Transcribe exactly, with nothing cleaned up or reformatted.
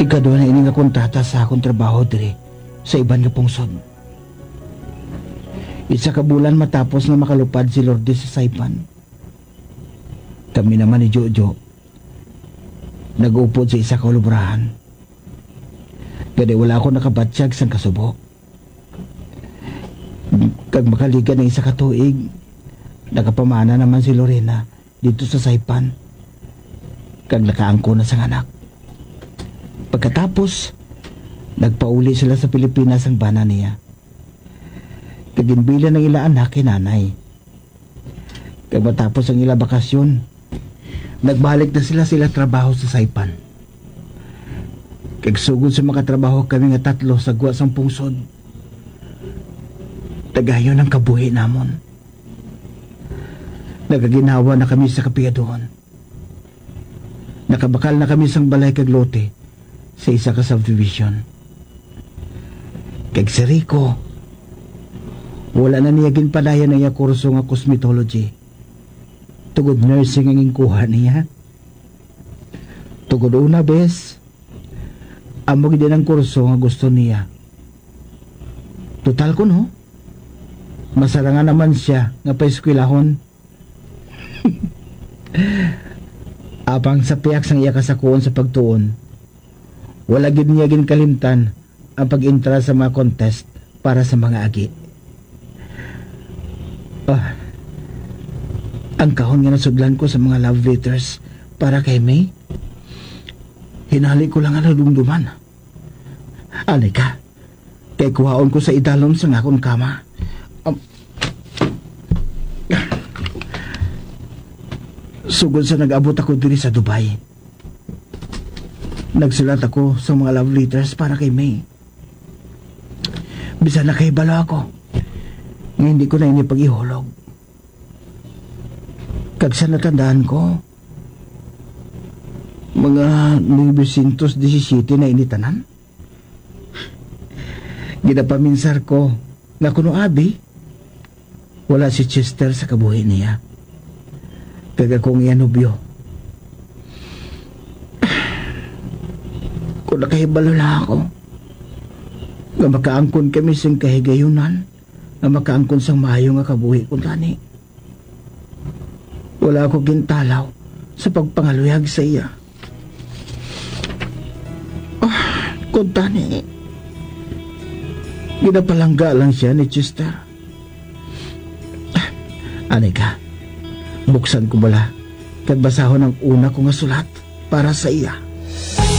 Ikaduha na ini nga kontrata sa akon trabaho diri sa iban nga pungsod. Isa ka bulan matapos nga makalupad si Lourdes sa Saipan, kami naman ni Jojo nag-upod sa isa ka ulubrahan. Gani wala ako nakabatyag sang kasubo. Kag makaliga na isa ka tuig, nakapamana naman si Lorena dito sa Saipan, kag nakaangkon na sang anak. Pagkatapos, nagpauli sila sa Pilipinas ang bana niya, kag ginbilan ang ila anak kay nanay. Kag matapos ang ila bakasyon, nagbalik na sila sa ila trabaho sa Saipan. Kag sugod sa makatrabaho kami nga tatlo sa gwa sang pungsod, tagayon ang kabuhi namon. Nagaginhawa na kami sa kapigaduhon. Nakabakal na kami sang balay kag lote sa isa ka subdivision. Kag si Rico, wala na niya ginpadayon ang iya kurso nga cosmetology, tungod nursing ang ginkuha niya. Tungod una, bes, amo gid ang kurso nga gusto niya. Total kuno, masarangan naman sia nga paeskwelahon. Apang sa pihak sang iya kasakuon sa pagtuon, wala gid niya ginkalimtan ang pag-entra sa mga contest para sa mga agi. Ah, ang kahon nga nasudlan ko sa mga love letters para kay May, hinali ko lang ang nadumduman. Ani ka, kay kuhaon ko sa idalom sang akon kama. Um, sugod sa nag-abot ako diri sa Dubai, nagsulat ako sa mga love letters para kay May. Bisan nakahibalo ako nga hindi ko na ini pag-ihulog. Kag sa natandaan ko, mga nuebe siyentos disisiyete na ini tanan. Ginapaminsar ko nga kuno abi, wala si Chester sa kabuhi niya. Kag ako ang iya nobyo. Kung nakahibalo lang ako nga makaangkon kami sing kahigayunan nga makaangkon sang maayo nga kabuhi kuntani, wala ako gintalaw sa pagpangaluyag sa iya. Ah, kuntani, ginapalangga lang siya ni Chester. Ani ka, buksan ko bala kag basahon ang una ko nga sulat para sa iya.